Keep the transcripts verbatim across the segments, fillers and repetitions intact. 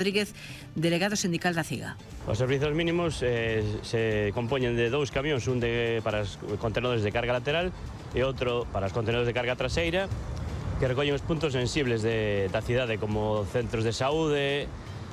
Rodríguez, delegado sindical da CIGA. Os servizos mínimos eh, se compoñen de dous camións, un de, para os contenedores de carga lateral e outro para os contenedores de carga traseira, que recollen os puntos sensibles de, da cidade, como centros de saúde,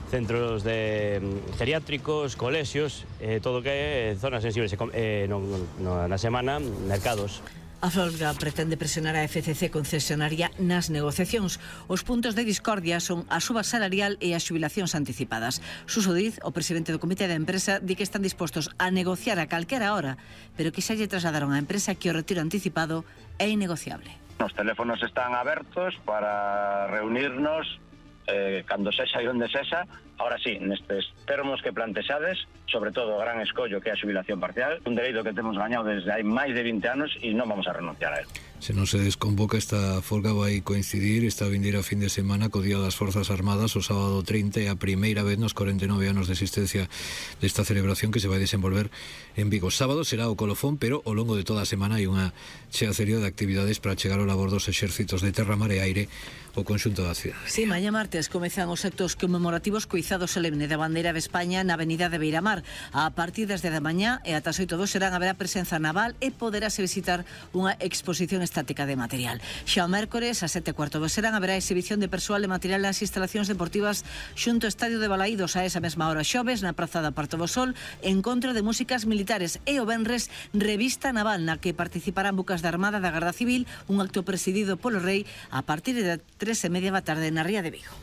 centros de geriátricos, colexios, eh, todo que é zonas sensibles, eh, no, no, na semana, mercados. A folga pretende presionar a F C C concesionaria nas negociacións. Os puntos de discordia son a suba salarial e as xubilacións anticipadas. Suso Diz, o presidente do comité da empresa, di que están dispostos a negociar a calquera hora, pero que xa lle trasladaron á empresa que o retiro anticipado é innegociable. Os teléfonos están abertos para reunirnos eh, cando sexa e onde sexa. Ahora sí, nestes termos que plantexades, sobre todo o gran escollo que é a xubilación parcial, un dereito que temos gañado desde hai máis de vinte anos e non vamos a renunciar a él. Se non se desconvoca, esta folga vai coincidir esta vindeira fin de semana co Día das Forzas Armadas, o sábado trinta, e a primeira vez nos corenta e nove anos de existencia desta celebración que se vai desenvolver en Vigo. Sábado será o colofón, pero ao longo de toda a semana hai unha cheacería de actividades para chegar ao labor dos exércitos de terra, mar e aire o conxunto da cidade. Sí, mañá martes comezan os actos conmemorativos co izado solemne da bandeira de España na avenida de Beiramar. A partir das dez da mañá e ata as oito do serán haberá presenza naval e poderase visitar unha exposición estática de material. Xa o mércores, a sete e cuarto do serán, haberá exhibición de persoal e material nas instalacións deportivas xunto ao Estadio de Balaídos. A esa mesma hora xoves, na Praza da Parto do Sol, encontro de músicas militares, e o venres, revista naval na que participarán bucas da Armada, da Garda Civil, un acto presidido polo Rei a partir de tres e media da tarde na Ría de Vigo.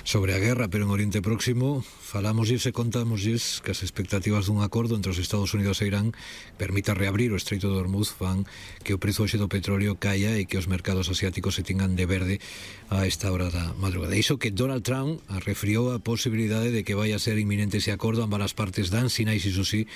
Sobre a guerra, pero en Oriente Próximo, falámoslles e contámoslles que as expectativas dun acordo entre os Estados Unidos e Irán permita reabrir o Estreito de Hormuz fan que o prezo hoxe do petróleo caia e que os mercados asiáticos se tingan de verde a esta hora da madrugada. Iso que Donald Trump refriou a posibilidade de que vai a ser inminente ese acordo. Ambas as partes dan sinais, iso sí,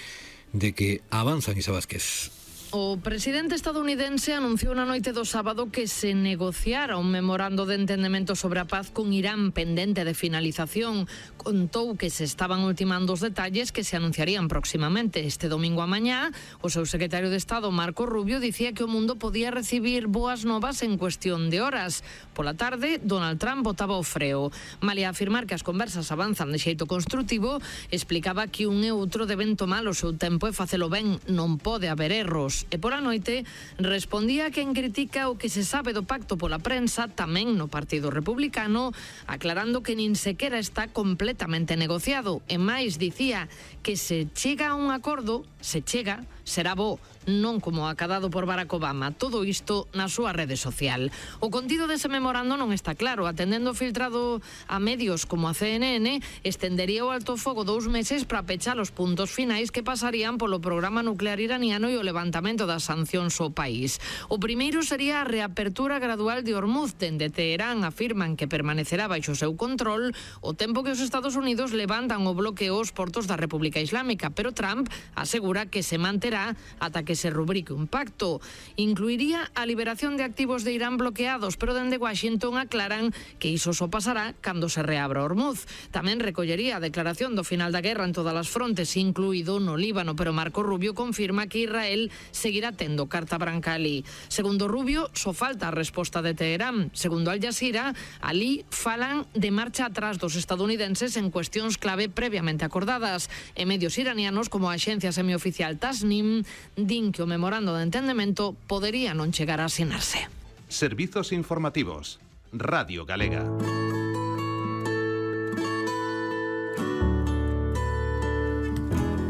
de que avanzan. Isa Vázquez. O presidente estadounidense anunciou na noite do sábado que se negociara un memorando de entendemento sobre a paz con Irán pendente de finalización. Contou que se estaban ultimando os detalles que se anunciarían próximamente. Este domingo a mañá, o seu secretario de Estado, Marco Rubio, dicía que o mundo podía recibir boas novas en cuestión de horas. Pola tarde, Donald Trump botaba o freo. Malia afirmar que as conversas avanzan de xeito construtivo, explicaba que un e outro deben tomar o seu tempo e facelo ben, non pode haber erros. E pola noite respondía a quen critica o que se sabe do pacto pola prensa, tamén no Partido Republicano, aclarando que nin sequera está completamente negociado. E máis, dicía que se chega a un acordo, se chega, será bo, non como acadado por Barack Obama. Todo isto na súa rede social. O contido dese memorando non está claro. Atendendo filtrado a medios como a C N N, estendería o alto fogo dous meses para pechar os puntos finais que pasarían polo programa nuclear iraniano e o levantamento das sancións ao país. O primeiro sería a reapertura gradual de Hormuz. Dende Teherán afirman que permanecerá baixo o seu control o tempo que os Estados Unidos levantan o bloqueo aos portos da República Islámica, pero Trump asegura que se manterá ata que se rubrique un pacto. Incluiría a liberación de activos de Irán bloqueados, pero dende Washington aclaran que iso só pasará cando se reabra Hormuz. Tamén recollería a declaración do final da guerra en todas as frontes, incluído no Líbano, pero Marco Rubio confirma que Israel seguirá tendo carta branca alí. Segundo Rubio, só falta a resposta de Teherán. Segundo Al Jazeera, alí falan de marcha atrás dos estadounidenses en cuestións clave previamente acordadas. E medios iranianos, como a axencia semioficial Tasnim, din que o memorando de entendemento podería non chegar a asinarse. Servizos informativos. Radio Galega.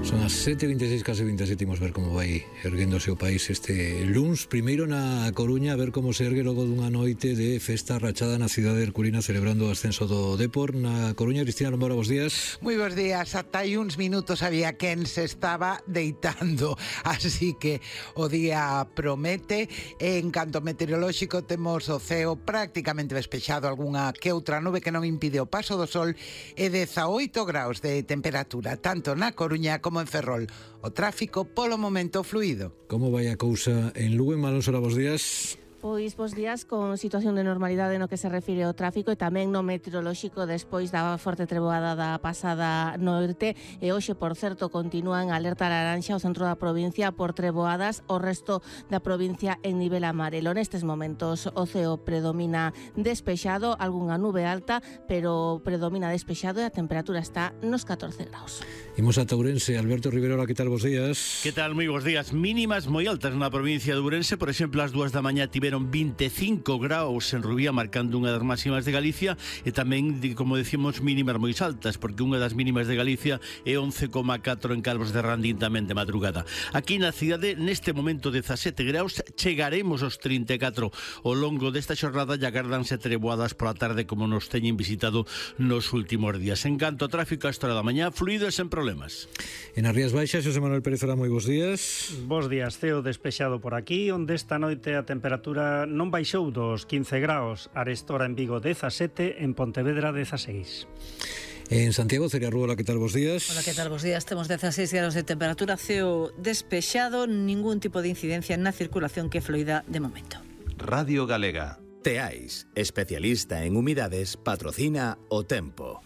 Son as sete e vinte e seis, case vinte e sete, imos ver como vai erguéndose o país este luns. Primeiro na Coruña, a ver como se ergue logo dunha noite de festa rachada na cidade herculina celebrando o ascenso do Depor. Na Coruña, Cristina Lombora, bos días. Moi bons días, ata hai uns minutos había quen se estaba deitando, así que o día promete. En canto meteorolóxico temos o ceo prácticamente despexado, algunha que outra nube que non impide o paso do sol, e dezaoito graus de temperatura, tanto na Coruña como en Ferrol. O tráfico polo momento fluido. Como vai a cousa en Lugo? En Malón, bos días. Pois bos días con situación de normalidade no que se refire ao tráfico e tamén no meteorolóxico despois da forte treboada da pasada noite e hoxe, por certo, continúan alerta laranxa o centro da provincia por treboadas, o resto da provincia en nivel amarelo. Nestes momentos o ceo predomina despexado, algunha nube alta, pero predomina despexado e a temperatura está nos catorce graus. Imos a Ourense. Alberto Rivero, que tal, bos días? Que tal, moi bos días. Mínimas moi altas na provincia de Ourense. Por exemplo, as dúas da mañá tiveron vinte e cinco graus en Rubía, marcando unha das máximas de Galicia, e tamén, como decimos, mínimas moi altas, porque unha das mínimas de Galicia é once coma catro en Calvos de Randín tamén de madrugada. Aquí na cidade, neste momento dezasete graus, chegaremos aos trinta e catro ao longo desta xornada e agardanse treboadas pola tarde como nos teñen visitado nos últimos días. En canto a tráfico, a esta hora da mañá, fluido e sen problemas. En as Rías Baixas, Xosé Manuel Pérez, ora, moi bos días. Bos días, ceo despexado por aquí, onde esta noite a temperatura non baixou dos quince graus, arestora en Vigo dezasete, en Pontevedra dezaseis. En Santiago, Celia Rúa, que tal, bos días? Hola, que tal, bos días? Temos dezaseis graus de temperatura, ceo despexado, ningún tipo de incidencia na circulación que fluida de momento. Radio Galega. Teais, especialista en humidades, patrocina o tempo.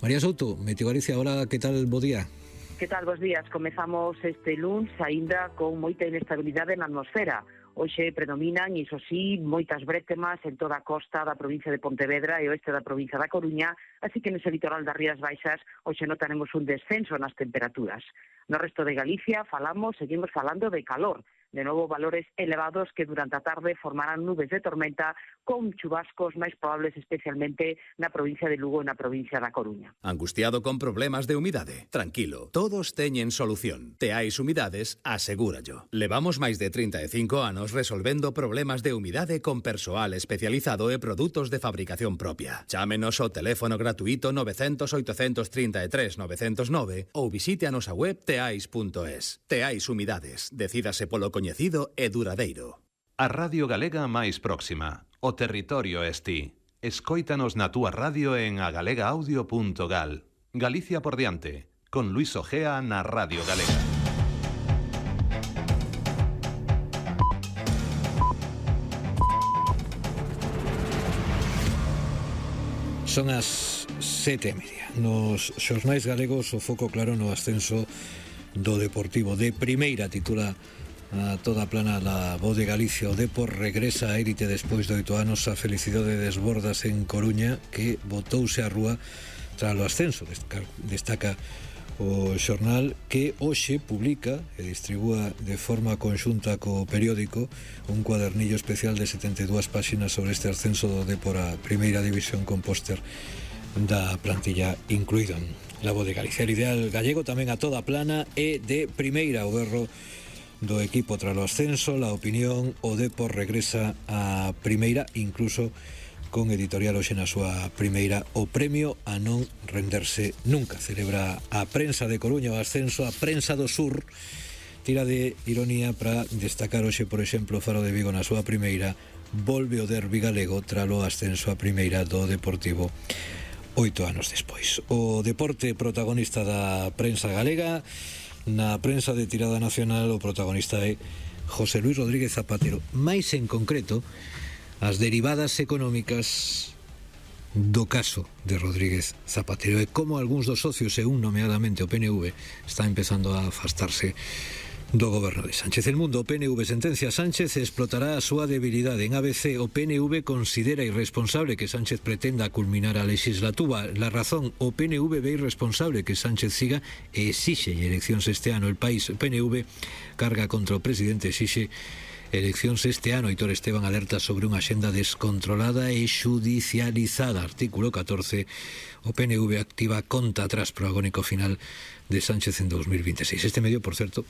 María Souto, Meteo Galicia, ahora, que tal, bo día? Que tal, bos días? Comezamos este luns aínda con moita inestabilidade na atmosfera. Hoxe predominan, iso sí, moitas brétemas en toda a costa da provincia de Pontevedra e oeste da provincia da Coruña, así que nese litoral das Rías Baixas hoxe notaremos un descenso nas temperaturas. No resto de Galicia falamos, seguimos falando de calor, de novo valores elevados que durante a tarde formarán nubes de tormenta con chubascos máis probables especialmente na provincia de Lugo e na provincia da Coruña. Angustiado con problemas de humidade? Tranquilo, todos teñen solución. Teais Humidades, asegúrallo. Levamos máis de trinta e cinco anos resolvendo problemas de humidade con persoal especializado e produtos de fabricación propia. Chámenos ao teléfono gratuito nove cero cero, oito tres tres, nove cero nove ou visite a nosa web teais punto es. Teais Humidades, decídase polo coñecido e duradeiro. A Radio Galega máis próxima. O territorio es ti. Escóitanos na túa radio en agalegaaudio punto gal. Galicia por diante, con Luis Ojea na Radio Galega. Son as sete e media. Nos xornais galegos, o foco claro no ascenso do Deportivo de primeira, titula a toda plana la Voz de Galicia. O Depor regresa a élite despois de oito anos. A felicidade desbordas en Coruña, que botouse á rúa tras o ascenso. Destaca o xornal que hoxe publica e distribúa de forma conxunta co periódico un cuadernillo especial de setenta e dúas páxinas sobre este ascenso do Depor a primeira división, con póster da plantilla incluído en la Voz de Galicia. El ideal gallego tamén a toda plana e de primeira, o berro do equipo tras o ascenso, la opinión, o Depor regresa a primeira, incluso con editorial hoxe na súa primeira, o premio a non renderse nunca. Celebra a prensa de Coruña o ascenso, a prensa do sur tira de ironía para destacar hoxe, por exemplo, o Faro de Vigo na súa primeira, volve o derbi galego tras o ascenso a primeira do Deportivo oito anos despois. O deporte protagonista da prensa galega. Na prensa de tirada nacional, o protagonista é José Luis Rodríguez Zapatero, máis en concreto as derivadas económicas do caso de Rodríguez Zapatero e como algúns dos socios, e un nomeadamente o P N V, está empezando a afastarse do goberno de Sánchez. El Mundo, o P N V sentencia a Sánchez e explotará a súa debilidade. En A B C, o P N V considera irresponsable que Sánchez pretenda culminar a legislatura. La Razón, o P N V ve irresponsable que Sánchez siga e exixe eleccións este ano. El País, o P N V carga contra o presidente, exixe eleccións este ano. Aitor Esteban alerta sobre unha axenda descontrolada e xudicializada. Artículo catorce, o P N V activa conta atrás pro agónico final de Sánchez en dos mil veintiséis. Este medio, por certo,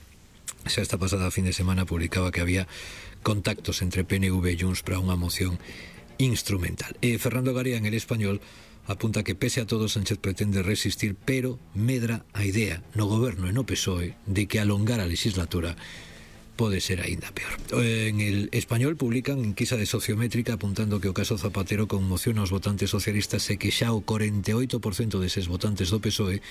xa esta pasada fin de semana publicaba que había contactos entre P N V e Junts para unha moción instrumental. E Fernando Garía, en El Español, apunta que pese a todo Sánchez pretende resistir, pero medra a idea no goberno e no P S O E de que alongar a legislatura pode ser aínda peor. En el Español publican enquisa de Sociométrica apuntando que o caso Zapatero conmociona os votantes socialistas e que xa o corenta e oito por cento deses votantes do P S O E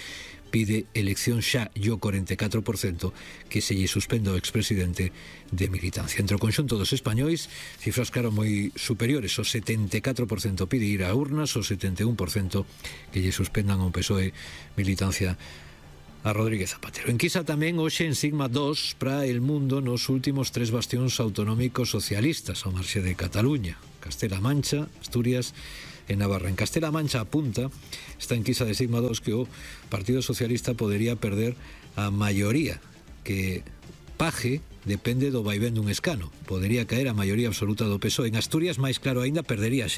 pide elección xa e o corenta e catro por cento que se lle suspenda o expresidente de militancia. Entre o conxunto dos españois, cifras claro moi superiores, o setenta e catro por cento pide ir a urnas, o setenta e un por cento que lle suspendan ao P S O E militancia a Rodríguez Zapatero. Enquisa tamén hoxe en Sigma dos para El Mundo nos últimos tres bastións autonómicos socialistas ao marxe de Cataluña, Castela Mancha, Asturias e Navarra. En Castela Mancha apunta esta enquisa de Sigma dos que o Partido Socialista podería perder a maioría, que Paje depende do vaivén dun escano. Podería caer a maioría absoluta do P S O E. En Asturias, máis claro aínda, perdería xa